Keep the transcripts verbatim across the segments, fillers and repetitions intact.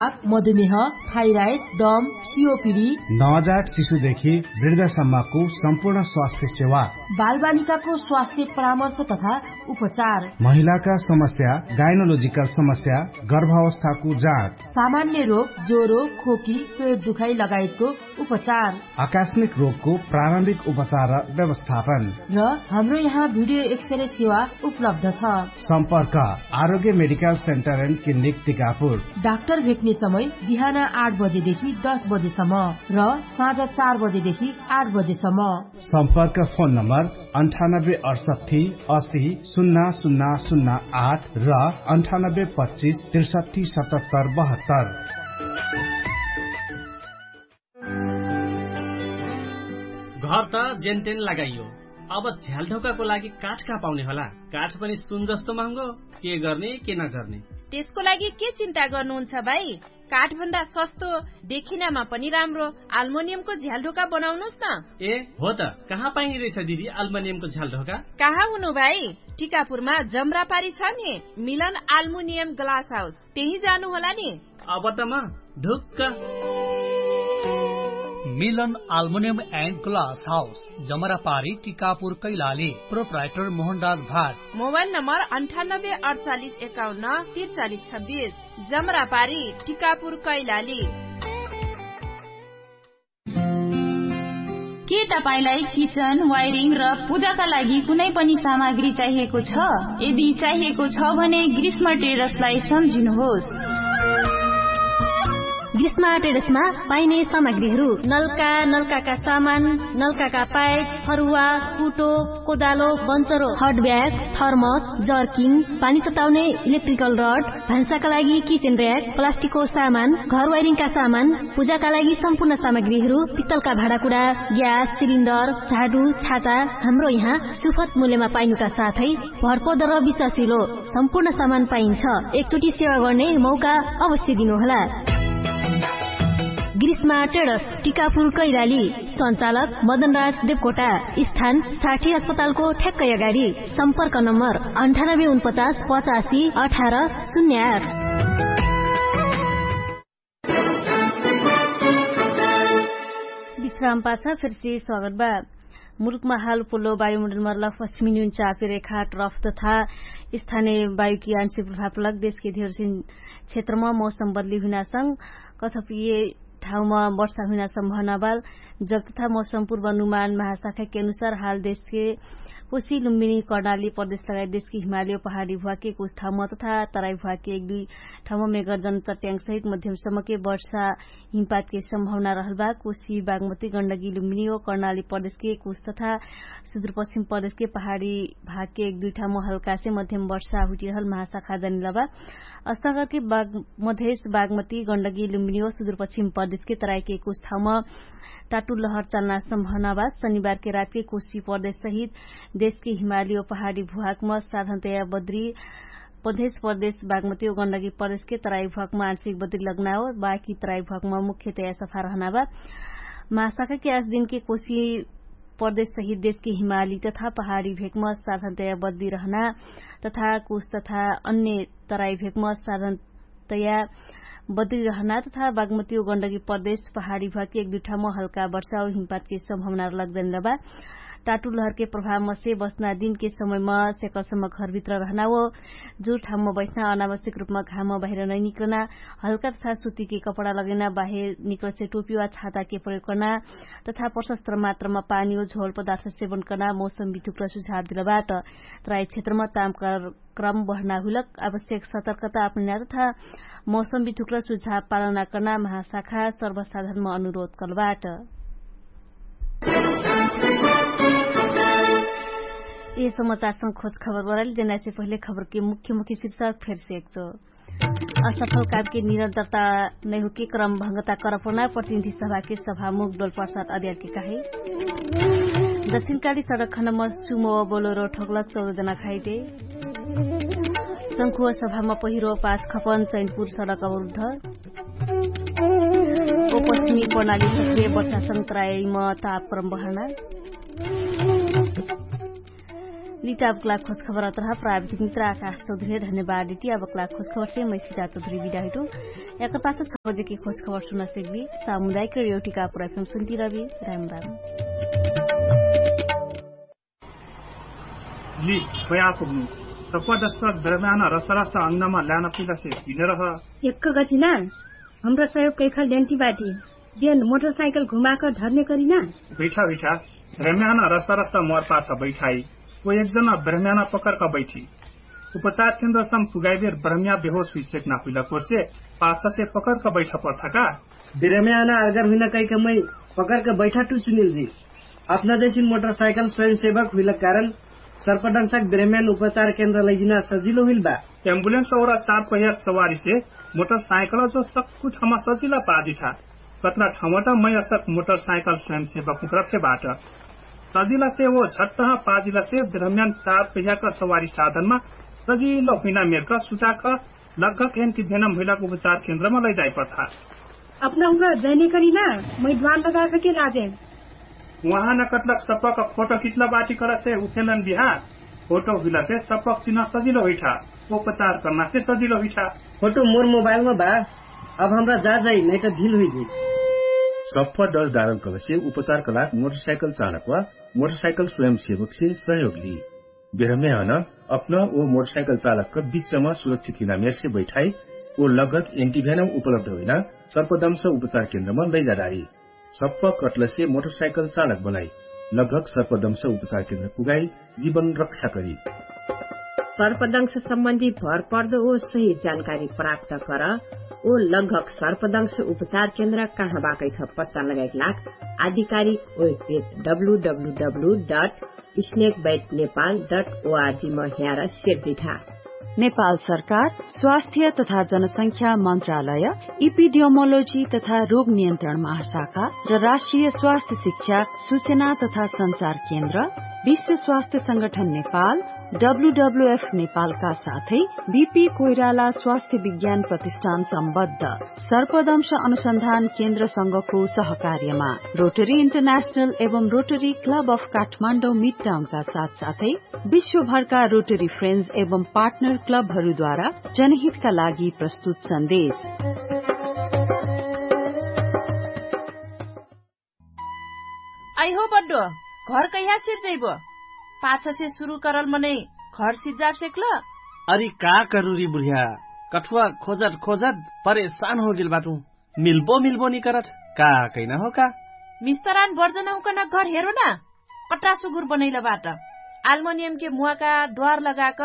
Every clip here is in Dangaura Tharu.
मधुमेह, थाइराइड, दम, सियोपिडी, नवजात शिशुदेखि वृद्धसम्मको सम्पूर्ण स्वास्थ्य सेवा, बालबालिकाको स्वास्थ्य परामर्श तथा उपचार, महिलाका समस्या, गाइनोलोजिकल समस्या, गर्भावस्थाको जाँच, सामान्य रोग, ज्वरो, खोकी, पेट दुखाइ लगायतको उपचार, आकस्मिक रोगको प्रारम्भिक उपचार र व्यवस्थापन। र हाम्रो यहाँ भिडियो एक्सरे सेवा उपलब्ध छ। सम्पर्क आरोग्य medical centre and clinic Tikapur. Doctor भेट्ने समय बिहान आठ बजेदेखि दस बजेसम्म र साँझ चार बजेदेखि आठ बजेसम्म। सम्पर्क फोन नम्बर अन्ठानब्बे अठसट्ठी असी सुन्ना सुन्ना सुन्ना आठ र अन्ठानब्बे पच्चिस त्रिसट्ठी सतहत्तर बहत्तर। घर त जेनतेन लगाइयो, अब झ्यालढोकाको लागि काठ कहाँ पाउने होला? काठ पनि सुन जस्तो महँगो। के गर्ने के नगर्ने? त्यसको लागि के चिन्ता गर्नुहुन्छ भाइ? काठभन्दा सस्तो, देखिनामा पनि राम्रो आल्मोनियमको झ्यालढोका बनाउनुस् न। ए हो त, कहाँ पाइने रहेछ दिदी आल्मोनियमको झ्यालढोका? कहाँ हुनु भाइ? टिकापुरमा जमरापारी छ नि, मिलन आल्मोनियम ग्लास हाउस, त्यही जानु होला नि। अब त म ढुक्क। मिलन आल्मोनियम एन्ड ग्लास हाउस, जमरापारी, टिकापुर, कैलाली। प्रोप्राइटर मोहनराज भाट। मोबाइल नम्बर अन्ठानब्बे अडचालिस एकाउन्न तिरचालिस छब्बिस। जमरापारी, टिकापुर, कैलाली। के तपाईंलाई किचन, वायरिङ र पूजाका लागि कुनै पनि सामग्री चाहिएको छ? यदि चाहिएको छ भने ग्रीष्म ट्रेडर्सलाई सम्झिनुहोस्। ग्रीष्म ट्रेडर्समा पाइने सामग्रीहरू: नलका, नलकाका सामान, नलकाका पाइप, फरुवा, कुटो, कोदालो, बन्चरो, हट ब्याग, थर्मस, जर्किङ, पानी तताउने इलेक्ट्रिकल रड, भान्साका लागि किचन र्‍याक, प्लास्टिकको सामान, घर वायरिङका सामान, पूजाका लागि सम्पूर्ण सामग्रीहरू, पित्तलका भाँडाकुडा, ग्यास सिलिन्डर, झाडु, छाता, हाम्रो यहाँ सुफत मूल्यमा पाइनुका साथै भरपर्दो र विश्वासिलो सम्पूर्ण सामान पाइन्छ। एकचोटि सेवा गर्ने मौका अवश्य दिनुहोला। ग्रीष्मा ट्रेडर्स, टिकापुर, कैलाली। सञ्चालक मदनराज देवकोटा। स्थान साठी अस्पतालको ठ्याक्कै अगाडि। सम्पर्क नम्बर अन्ठानब्बे उनपचास पचासी अठार शून्य आठ। विश्राम पाछा फेरसे स्वागत बा। मुलुकमा हाल पोलो वायुमण्डल मरला पश्चिमी न्यून चापे रेखा ट्रफ तथा स्थानीय वायुकी आंशिक प्रभाव लग देशके धेरसिन क्षेत्रमा मौसम बदली हुइनासँग कथपिय ठाउँमा वर्षा हुइना सम्भावना बाल। जब तथा मौसम पूर्वानुमान महाशाखाके अनुसार हाल देशके कोशी लुम्बिनी कर्णाली प्रदेश लगायत देशके हिमाली पहाडी भुवाके कुछ ठाउँमा तथा तराई भुवाके एक दुई ठाउँमा मेगर्जन चट्याङ सहित मध्यम समके वर्षा हिमपातके सम्भावना रहल बा। कोशी बागमती गण्डकी लुम्बिनी ओ कर्णाली प्रदेशके कुछ तथा सुदूरपश्चिम प्रदेशके पहाडी भागके एक दुई ठाउँमा हल्कासे मध्यम वर्षा हुइटिरहल महाशाखा जनिलबा। अस्तागरके मधेश बागमती गण्डकी लुम्बिनी ओ सुदूरपश्चिम प्रदेशके तराईके कुछ ठाउँमा टाटु लहर चल्ना सम्भावना बा। शनिबारके रातके कोशी प्रदेश सहित देशके हिमाली ओ पहाडी भुवाकमा साधनतया बद्री मधेश प्रदेश बागमती ओ गण्डकी प्रदेशके तराई भुवाकमा आंशिक बद्री लग्ना ओ बाकी तराई भुवाकमा मुख्यतया सफा रहना बा। महाशाखाके आज दिनके कोशी प्रदेश सहित देशके हिमाली तथा पहाडी भेकमा साधनतया बद्री रहना तथा कुछ तथा अन्य तराई भेकमा साधनतया बद्री रहना तथा बागमती ओ गण्डकी प्रदेश पहाडी भुवाके एक दुई ठाउँमा हल्का वर्षा ओ हिमपातके सम्भावना लग्जनिलबा। टाटु लहरके प्रभावमसे बस्ना दिनके समयमा सेकरसम्म घरभित्र रहना ओ जुर ठाउँमा बैठना अनावश्यक रूपमा घाममा बाहिर नैनिक्रना हल्का तथा सुतिके कपडा लगैना बाहिर निक्रसे टोपी वा छाताके प्रयोग कर्ना तथा प्रशस्त्र मात्रामा पानी ओ झोल पदार्थ सेवन कर्ना मौसम विधुक्र सुझाव दिलबाट। तराई क्षेत्रमा तामकर क्रम बढ्ना हुइलक आवश्यक सतर्कता अपनैना तथा मौसम विधुक्र सुझाव पालना कर्ना महाशाखा सर्वसाधारणमा अनुरोध कर्लबाट। ए समाचारसँग खोज खबर बराली देनासे पहिले खबरके मुख्य मुख्य शीर्षक फेरसे एकचो। असफल कामके निरन्तरता नैहुके क्रम भङ्गता करपना प्रतिनिधि सभाके सभामुख डोलपार्साद अद्यारके काहे। दक्षिणकाली सडक खण्डमा सुमो बोलोरो ठोकलक चौध जना खाइटे। शंखुव सभामा पहिरो पाँच खपन चैनपुर सडक अवरुद्ध। ओ पश्चिमी प्रणाली सक्रिय वर्षा संतरायमा तापक्रम बहर्ना। लिटाबकला खोजखबर अत्रहा प्राविधिक मित्र आकाश चौधरी धन्यवाद डिटी अबकला खोजखबर से मै सिता चौधरी बिदा हुइटु। याकर पाछ छ बजेके खोजखबर सुना सेकबी। सामुदायिक रेडियो टिकापुर एफएम सुन्ती रहबी। राम राम। लि, खोया पुग्नु। सप्पा दस्ता दरम्यान रसरस अंगनामा ल्यान पिलासे हिने रह। एक्क गतिना, हमरा सहयोग कैखल ल्यान्टी बाटी। बेन मोटरसाइकल घुमाक ढर्ने करिना। बैठा बैठा। दरम्यान रसरस मोर पाछ बैठाई। ओ एकजना ब्रह्म्याना पकरक बैठी। उपचार केन्द्रसम पुगाइबेर ब्रह्म्या बेहोस हुइसेक ना हुइला कोर्से पाछसे पकरक बैठा पर्थका। बिरम्याना अगर हुइना कैक मै पकरक बैठा टु सुनिल जी। अपना जैसिन मोटरसाइकल स्वयंसेवक हुइला कारण सर्पडंसक बिरम्यान उपचार केन्द्र लैजिना सजिलो हुइल बा। एम्बुलेन्स और चार पहियाक सवारीसे मोटरसाइकल जो सक्कु ठामा सजिला पाजिठा। कत्रा ठामट मै असक मोटरसाइकल स्वयंसेवक हुँकरफे बाट। सजिलासे वो झट्टह पाजिलासे बिरम्यान चार पहियाक सवारी साधनमा सजिलो हुइना मेरक सुचाक लगक एन्टिभेनम हुइलाक उपचार केन्द्रमा लैजाइपर्था। अपना हुना जैने करिना मै द्वार लगाक के लाजे। उहाँ न कटलक सप्पक फोटो खिचला बाटी करसे उठेलन बिहा। फोटो हुइलासे सप्पक चिन्ह सजिलो हुइठा। उपचार कर्नासे सजिलो हुइठा। फोटो मोर मोबाइलमा बा। अब हमरा जा जाइ नैत ढिल हुइजी। सप्प डस डारल कलसे उपचार कलाक मोटरसाइकल चालक वा मोटरसाइकल स्वयंसेवकसे सहयोग ली। बेरम्यान अपना ओ मोटरसाइकल चालकक बिचमा सुरक्षित हिना मेरसे बैठाई। ओ लगक एन्टिभ्यानम उपलब्ध हुइना सर्पदंश उपचार केन्द्रमा लैजाडारी। सप्प कटलसे मोटरसाइकल चालक बनाई। लगक सर्पदंश उपचार केन्द्र पुगाई। जीवन रक्षा करी। सर्पदंश सम्बन्धी भरपर्द ओ सही जानकारी प्राप्त कर। ओ लगक सर्पदंश उपचार केन्द्र कहाँ बाकैछ पत्ता लगाइक लाग आधिकारिक webpage W W W dot snake bite Nepal dot O R G म ह्यार सेर्दिठा। नेपाल सरकार स्वास्थ्य तथा जनसंख्या मन्त्रालय, इपिडियोमोलोजी तथा रोग नियन्त्रण महाशाखा र राष्ट्रिय स्वास्थ्य शिक्षा सूचना तथा सञ्चार केन्द्र, विश्व स्वास्थ्य संगठन नेपाल, डब्लुडब्लुएफ नेपालका साथै बिपी कोइराला स्वास्थ्य विज्ञान प्रतिष्ठान सम्बद्ध सर्पदंश अनुसन्धान केन्द्रसँगको सहकार्यमा रोटरी इन्टरनेशनल एवं रोटरी क्लब अफ काठमाडौँ मिडटाउनका साथसाथै विश्वभरका रोटरी फ्रेन्ड्स एवं पार्टनर क्लबहरूद्वारा जनहितका लागि प्रस्तुत सन्देश। आइहो बड्डो, घर कैहा सिर्जैबो? पाछसे सुरु करल मनै घर सिर्जा सेक्ल? अरि का करुरी बुढिया, कठुवा खोजत खोजत परेशान होगेल बाटु। मिल्बो मिल्बो निकरत का कैना हो का? मिस्तरान बर्जनहुकन घर हेरो ना। पट्टा सुगुर बनैल बाट। आल्मोनियमके मुवाका द्वार लगाक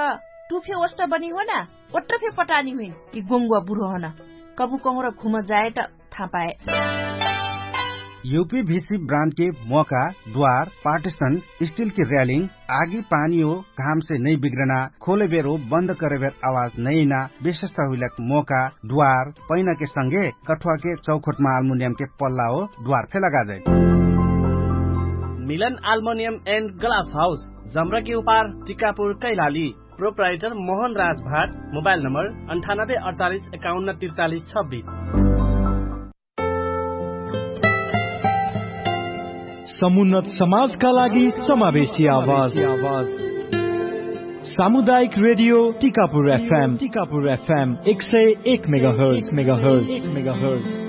टुफे ओष्ट बनी हो ना। ओट्ट फे पटानी हुइन कि गोङ्गुवा बुरो हन। कबु कहुँर घुम जाए त थापाए। युपी भिसी ब्रान्डके मोका द्वार पार्टिसन स्टिलके र्यालिङ आगी पानी हो घामसे नै बिग्रना खोले बेरो बन्द करे बेर आवाज नैना विशेषता हुइलक मोका द्वार पैनाके संगे कठुवाके चौखोटमा आल्मुनियमके पल्ला हो द्वार फे लगाजै। मिलन आल्मुनियम एन्ड ग्लास हाउस जम्रकी उपार टिकापुर कैलाली। प्रोप्राइटर मोहन राजभाट। मोबाइल नम्बर अन्ठानब्बे अडचालिस एकाउन्न तिरचालिस छब्बिस। समुन्नत समाजका लागि समावेशी आवाज। सामुदायिक रेडियो टिकापुर एफएम टिकापुर एफएम एक सय एक मेगाहर्ज मेगाहर्ज एक मेगाहर्ज।